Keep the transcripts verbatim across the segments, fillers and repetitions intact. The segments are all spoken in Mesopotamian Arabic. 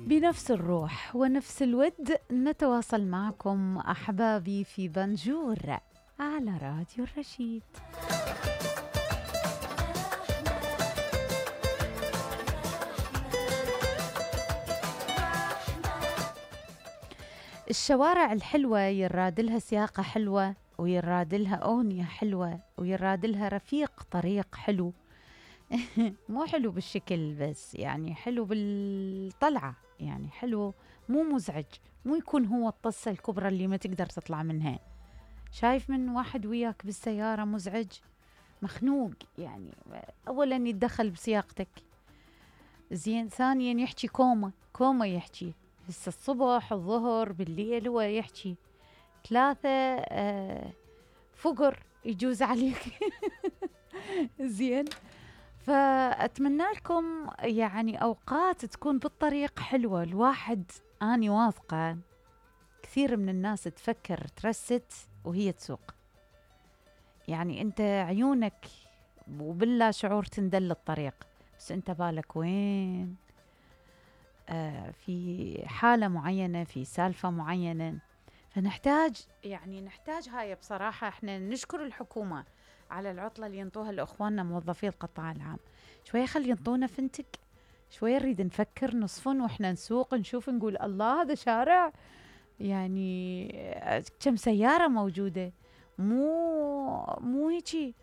بنفس الروح ونفس الود نتواصل معكم أحبابي في بنجور على راديو الرشيد. الشوارع الحلوة يرادلها سياقة حلوة، ويرادلها أغنية حلوة، ويرادلها رفيق طريق حلو. مو حلو بالشكل بس، يعني حلو بالطلعة، يعني حلو مو مزعج، مو يكون هو الطصة الكبرى اللي ما تقدر تطلع منها. شايف من واحد وياك بالسيارة مزعج مخنوق، يعني أولا يتدخل بسياقتك، زين ثانيا يحكي كومة كومة يحكي هسه الصبح الظهر بالليل هو يحكي ثلاثة آه فقر يجوز عليك. زين، فأتمنى لكم يعني أوقات تكون بالطريق حلوة. الواحد أني واثقة كثير من الناس تفكر ترست وهي تسوق، يعني أنت عيونك وبلا شعور تندل الطريق، بس أنت بالك وين؟ آه في حالة معينة، في سالفة معينة. فنحتاج يعني نحتاج هاي بصراحة. احنا نشكر الحكومة على العطلة اللي ينطوها لإخواننا موظفي القطاع العام، شوية خلي ينطونا فنتك، شوية نريد نفكر نصفن وإحنا نسوق نشوف نقول الله هذا شارع، يعني كم سيارة موجودة، مو مو هيجي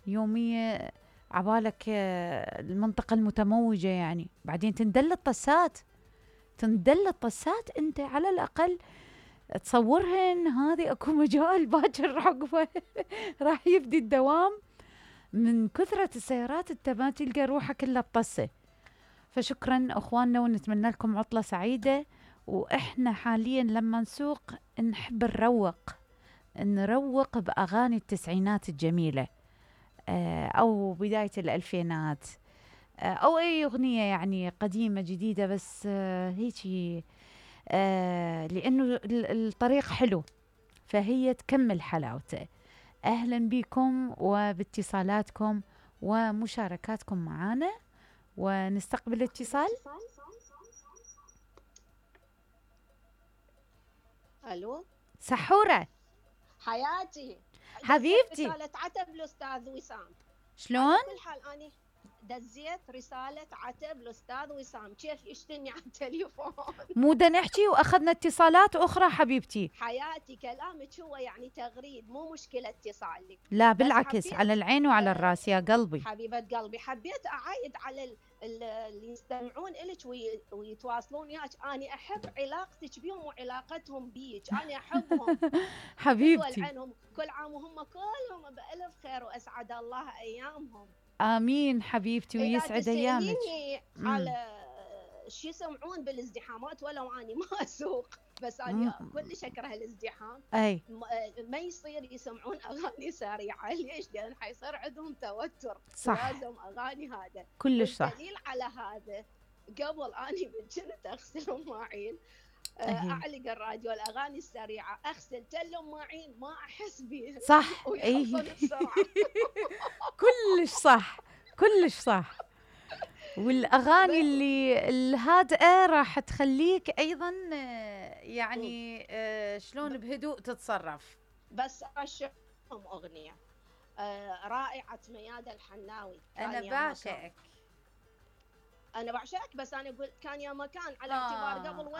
يومية عبالك المنطقة المتموجة، يعني بعدين تندل الطسات تندل الطسات أنت على الأقل تصورهن هذه اكو مجال باكر عقبه راح يبدي الدوام من كثرة السيارات، انت ما تلقى روحك الا بطسه. فشكرا اخواننا ونتمنى لكم عطلة سعيدة. واحنا حاليا لما نسوق نحب نروق نروق باغاني التسعينات الجميلة، او بداية الالفينات، او اي اغنية يعني قديمة جديدة، بس هيجي آه لأنه الطريق حلو فهي تكمل حلاوته. أهلا بكم وباتصالاتكم ومشاركاتكم معنا، ونستقبل اتصال. ألو سحورة حياتي حبيبتي، رسالة عتب الأستاذ وسام. شلون؟ على كل حال أني دزيت رسالة عتب الأستاذ وسام، كيف يشتني على التليفون؟ مو دا نحكي وأخذنا اتصالات أخرى حبيبتي. حياتي كلامك هو يعني تغريد، مو مشكلة اتصالي. لا بالعكس، على العين وعلى الراس يا قلبي. حبيبة قلبي، حبيت أعايد على اللي يستمعون إلك ويتواصلون وياك. أنا أحب علاقتك بيهم وعلاقتهم بيك، أنا أحبهم حبيبتي. عنهم كل عام وهم كلهم بألف خير وأسعد الله أيامهم. آمين حبيبتي ويسعد أيامك. على شو يسمعون بالازدحامات ولو أني ما أسوق، بس أنا كلش أكره الازدحام. أي ما يصير يسمعون أغاني سريعة، ليش؟ لأن حيصير عندهم توتر. صح. لازم أغاني هذا كلش صح. الدليل على هذا قبل أني كنت أغسل المواعين أعلق الراديو الأغاني السريعة، أغسل تل المواعين ما أحس بيه. صح. أي كلش صح كلش صح. والأغاني اللي الهادئة راح تخليك أيضا يعني شلون بهدوء تتصرف. بس أشهم أغنية رائعة ميادة الحناوي. أنا بعشقك أنا بعشقك، بس أنا أقول كان يا مكان على اعتبار قبل